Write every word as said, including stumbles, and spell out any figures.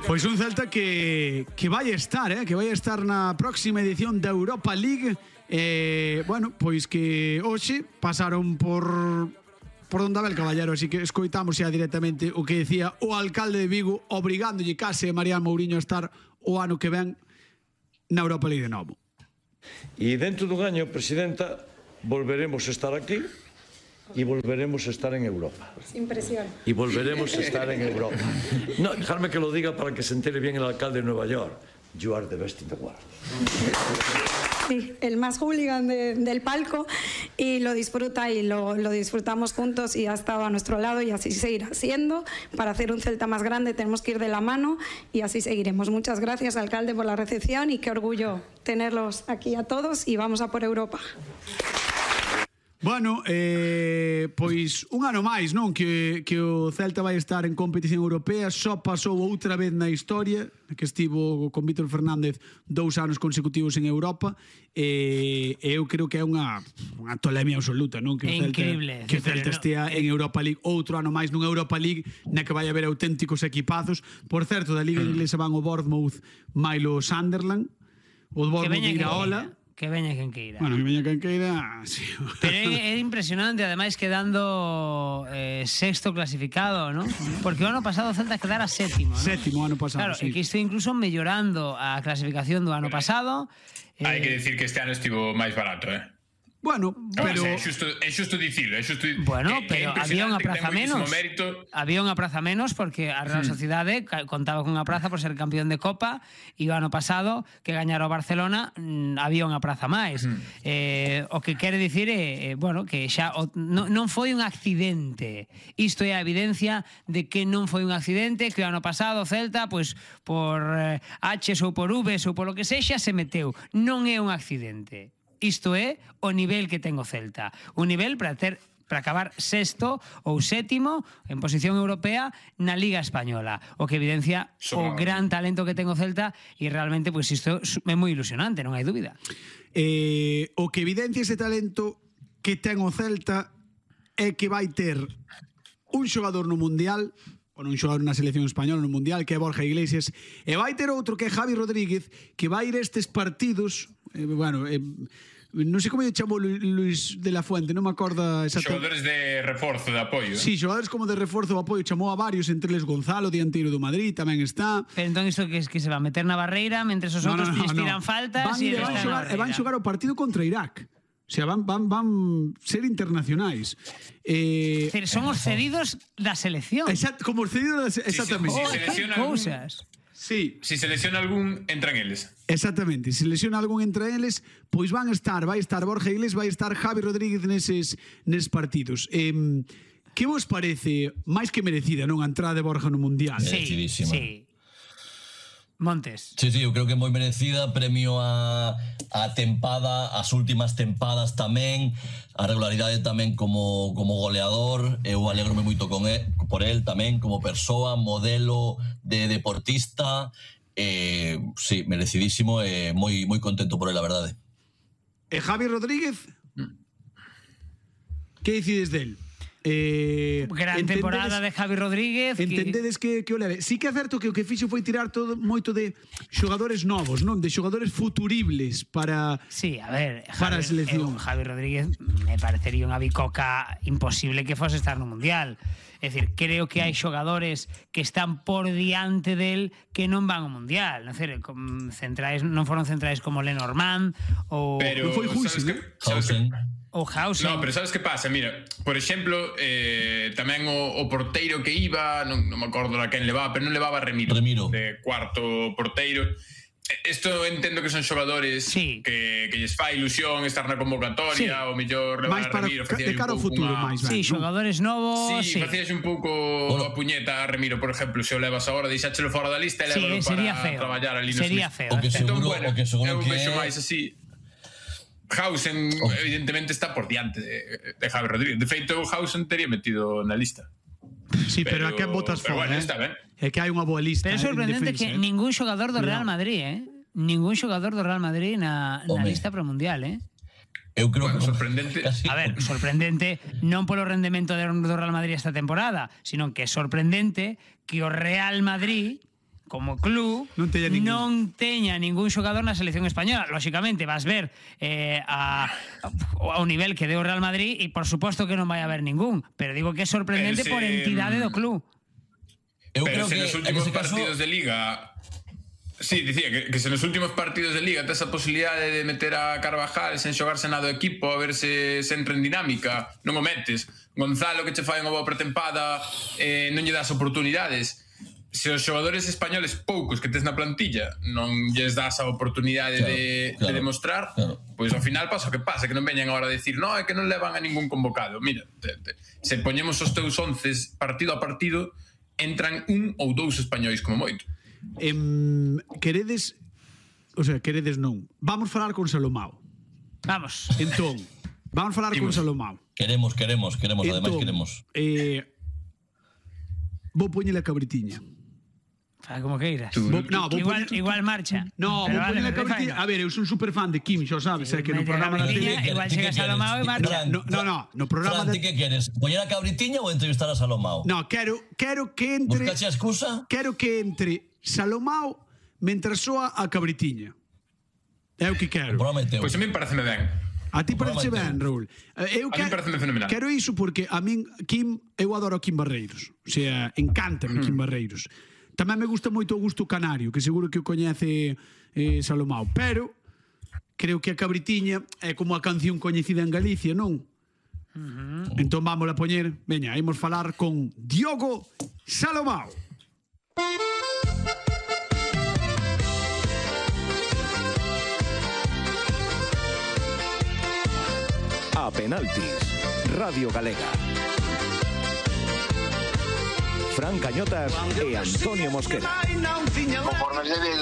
Pois un Celta que, que vai estar, eh, que vai estar na próxima edición da Europa League. Eh, bueno, pois que hoxe pasaron por por donde Abel Caballero, así que escoitamos xa directamente o que decía o alcalde de Vigo, obrigándolle case a Marián Mourinho a estar o ano que ven na Europa League de novo. E dentro dun año, Presidenta, volveremos a estar aquí y volveremos a estar en Europa. Sin presión. Y volveremos a estar en Europa. No, dejarme que lo diga para que se entere bien el alcalde de Nueva York. You are the best in the world. Sí, el más hooligan de, del palco, y lo disfruta y lo, lo disfrutamos juntos y ha estado a nuestro lado y así seguirá siendo. Para hacer un Celta más grande tenemos que ir de la mano y así seguiremos. Muchas gracias, alcalde, por la recepción y qué orgullo tenerlos aquí a todos y vamos a por Europa. Bueno, eh, pois un ano máis, non? Que, que o Celta vai estar en competición europea. Só pasou outra vez na historia, que estivo con Vítor Fernández dous anos consecutivos en Europa. E eh, eu creo que é unha, unha tolemia absoluta, non? Que o Celta, increíble. que o Celta estea en Europa League outro ano máis nunha Europa League na que vai haber auténticos equipazos. Por certo, da Liga Inglesa van o Bournemouth mailo Sunderland. O Bournemouth irá ola. Que veña quen queira. Bueno, que veña quen queira, sí. Pero é, é impresionante, ademais quedando eh, sexto clasificado, ¿no? Porque o ano pasado o Celta quedara sétimo, ¿no? Sétimo ano pasado, claro, sí. E que isto incluso mellorando a clasificación do ano pasado. Hai eh, que decir que este ano estivo máis barato, eh? Bueno, pero... É xusto, é xusto dicilo, é xusto... Bueno, que, pero que había unha praza menos. Mérito. Había unha praza menos porque a Real Sociedade hmm. contaba con unha praza por ser campeón de Copa e o ano pasado que gañara o Barcelona mmm, había unha praza máis. Hmm. Eh, o que quere dicir é, eh, bueno, que xa o, no, non foi un accidente. Isto é a evidencia de que non foi un accidente, que o ano pasado o Celta, pois, por eh, H's ou por V's ou polo que sexa, se meteu. Non é un accidente. Isto é o nivel que ten o Celta. Un nivel para ter para acabar sexto ou sétimo en posición europea na Liga Española, o que evidencia o gran talento que ten o Celta e realmente pois isto é moi ilusionante, non hai dúbida. Eh, o que evidencia ese talento que ten o Celta é que vai ter un xogador no Mundial, ou un xogador na selección española no Mundial, que é Borja Iglesias, e vai ter outro que é Javi Rodríguez, que vai ir estes partidos, eh, bueno, eh, non sei como lle chamou Luis de la Fuente, non me acorda Xogadores exactamente. de reforzo, de apoio. Sí, xogadores como de reforzo de apoio, chamou a varios, entre eles Gonzalo, dianteiro do Madrid, tamén está. Pero entón isto que, que se va a meter na barreira mentre os outros no, no, no, tiran no. faltas van, e, e van, xogar, e van xogar o partido contra Irak. O sea, van, van, van ser internacionais. Eh, Pero son os cedidos da selección. Exact, como os cedidos da selección. Exactamente. Si, si, si, oh, cousas. Sí. Si se lesiona algún, entran eles. Exactamente. Se lesiona algún entre eles, pois van estar, vai estar Borja Iglesias, vai estar Javi Rodríguez neses, neses partidos. Eh, que vos parece máis que merecida, non, a entrada de Borja no Mundial? Sí, sí. Montes. Sí, sí, eu creo que é moi merecida, premio a, a tempada, as últimas tempadas tamén, a regularidade tamén como, como goleador, eu alegrome moito con el, por el tamén, como persoa, modelo de deportista, eh, sí, merecidísimo e moi, moi contento por el, a verdade. E Javi Rodríguez? Que decides del? Eh, Gran temporada de Javi Rodríguez. Entendedes que, que o leve. Sí que é certo que o que fixo foi tirar todo moito de xogadores novos, non? De xogadores futuribles para sí, a ver, para Javi, a selección. Eu, Javi Rodríguez me parecería unha bicoca imposible que fose estar no Mundial. É dicir, creo que hai xogadores que están por diante del que non van ao Mundial. Non, sei, centrais, non foron centrais como Lenormand ou... Pero, foi Huisi, ¿sabes que, sabes que, o Hausen. No, pero sabes que pasa? Mira, por exemplo, eh, tamén o, o porteiro que iba, non, non me acordo a quen levaba, pero non levaba Remiro, Remiro. de cuarto porteiro. Isto entendo que son xogadores sí. que, que lles fai ilusión estar na convocatoria, sí. o mellor levar a Remiro, de cara ao futuro, una... máis ben, sí, ¿no? xogadores novos, sí, sí. facías un pouco bueno. a puñeta a Remiro, por exemplo, se o levas agora, deixáchelo fora da lista e sí, levalo para traballar ali no sería feo. O que seguro, entón, bueno, o que seguro eu que vexo máis así. Hausen, oh. evidentemente, está por diante de, de Javi Rodríguez. De feito, Hausen teria metido na lista. Sí, pero, pero a que botas fora, bueno, eh? está ben. É que hai unha boa lista. Pero é sorprendente defensa, que eh? ningún xogador do Real Madrid, eh? Ningún xogador do Real Madrid na, na Home. lista pro Mundial, eh? Eu creo bueno, que sorprendente. Casi. A ver, sorprendente non polo rendemento do Real Madrid esta temporada, sino que é sorprendente que o Real Madrid como club non teña ningún, non teña ningún xogador na selección española. Lóxicamente vas ver eh, a, ao nivel que deu o Real Madrid e por suposto que non vai haber ningún, pero digo que é sorprendente Pero se, por entidade do club. Eu Pero creo se que nos en últimos ese caso partidos de Liga... Sí, dicía que, que se nos últimos partidos de Liga tes a posibilidade de meter a Carvajal sen xogarse nada do equipo, a ver se, se entra en dinámica, non o metes. Gonzalo, que che fai unha boa pretempada, eh, non lle das oportunidades. Se os xogadores españoles poucos que tes na plantilla non lles das a oportunidade claro, de, claro, de demostrar, claro. pois ao final pasa o que pasa, que non veñan agora a decir no, é que non levan a ningún convocado. Mira, te, te, se poñemos os teus once partido a partido, entran un ou dous españois como moito. Em, queredes, o sea, queredes non. Vamos falar con Salomao. Vamos. Entón, vamos falar con Imos. Salomao. Queremos, queremos, queremos, Entón, ademais queremos. Eh, vou poñele a cabritiña. Fala como queiras. Vou, no, vou Igual, poñer- igual marcha. No, Pero vou vale, poñele a pero cabritiña. faino. A ver, eu son super fan de Kim, xa sabes, é que no Mete a programa da cabritiña, tele... igual Ti chega que Salomao queres? e marcha. Fran, No, no, no, no programa Fran, de... ti que queres? Poñer a cabritiña ou entrevistar a Salomao? No, quero, quero que entre... Buscache a excusa? Quero que entre Salomao mentras soa a cabritiña. É o que quero. Prometeu. Pois a mí pareceme ben. A ti parece Prometeu. ben, Raúl. Eh, Eu A mí quero, pareceme fenomenal. quero iso porque a min Kim, eu adoro a Kim Barreiros. O sea, encántame Kim Barreiros. Tamén me gusta moito o Augusto Canario, que seguro que o coñece eh, Salomao, pero creo que a cabritiña é como a canción coñecida en Galicia, non? Uh-huh. Entón vamos a poñer, veña, imos falar con Diogo Salomao. A penaltis, Radio Galega. Fran Cañotas e Antonio Mosquera. Conforme se ve